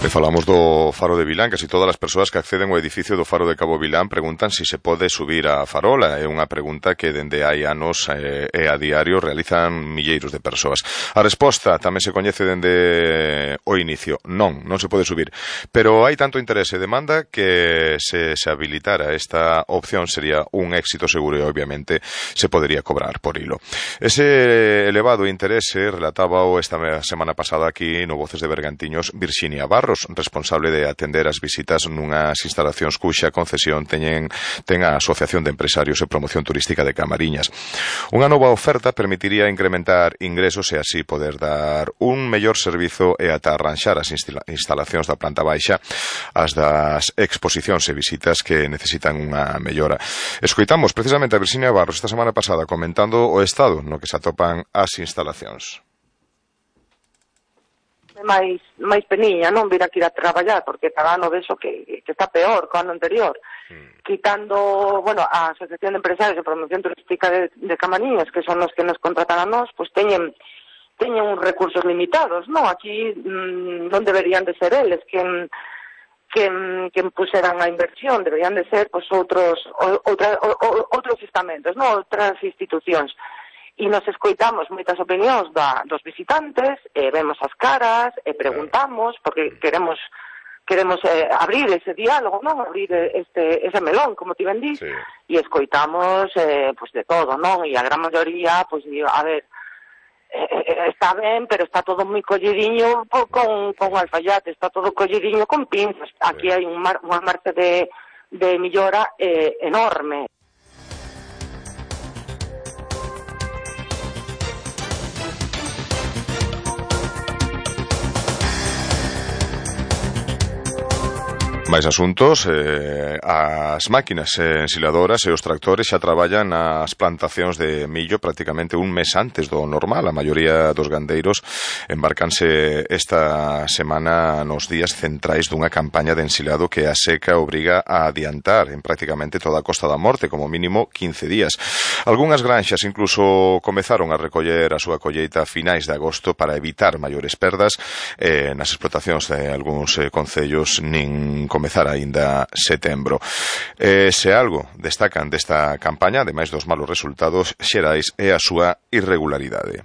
falamos do Faro de Vilán. Casi todas as persoas que acceden ao edificio do Faro de Cabo Vilán preguntan si se pode subir a farola. É unha pregunta que dende hai anos e a diario realizan milleiros de persoas. A resposta tamén se coñece dende o inicio. Non se pode subir. Pero hai tanto interese e demanda que se habilitara esta opción sería un éxito seguro e obviamente se podería cobrar por hilo. Ese elevado interese relatábao esta semana pasada aquí no Voces de Bergantiños Virxinia Barros, responsable de atender as visitas nunhas instalacións cuxa concesión ten a Asociación de Empresarios e Promoción Turística de Camariñas. Unha nova oferta permitiría incrementar ingresos e así poder dar un mellor servizo e ata arranxar as instalacións da planta baixa as das exposicións e visitas que necesitan unha mellora. Escoitamos precisamente a Virxinia Barros esta semana pasada comentando o estado no que se atopan as instalacións. máis peniña, non vir aquí a traballar, porque cada ano vexo que está peor que o ano anterior. Quitando, a Asociación de Empresarios de Promoción Turística de Camariñas, que son os que nos contratan a nós, pois teñen uns recursos limitados, non? Aquí non deberían de ser eles quen puseran a inversión, deberían de ser pois outros estamentos, non? Outras institucións. E nos escoitamos moitas opinións dos visitantes, vemos as caras, preguntamos, porque queremos abrir ese diálogo, non? Abrir ese melón, como ti ben dís, e escoitamos pois de todo, non? E a gran maioría, pois, a ver, está ben, pero está todo moi collidiño con alfaiate, está todo collidiño con pinzas. Aquí hai unha marcha de millora enorme. Máis asuntos, as máquinas ensiladoras e os tractores xa traballan nas plantacións de millo prácticamente un mes antes do normal. A maioría dos gandeiros embarcanse esta semana nos días centrais dunha campaña de ensilado que a seca obriga a adiantar en prácticamente toda a Costa da Morte, como mínimo 15 días. Algúnas granxas incluso comezaron a recoller a súa colleita a finais de agosto para evitar maiores perdas. Nas explotacións de algúns concellos nin comezar aínda setembro. Se algo destacan desta campaña, ademais dos malos resultados xerais, é a súa irregularidade.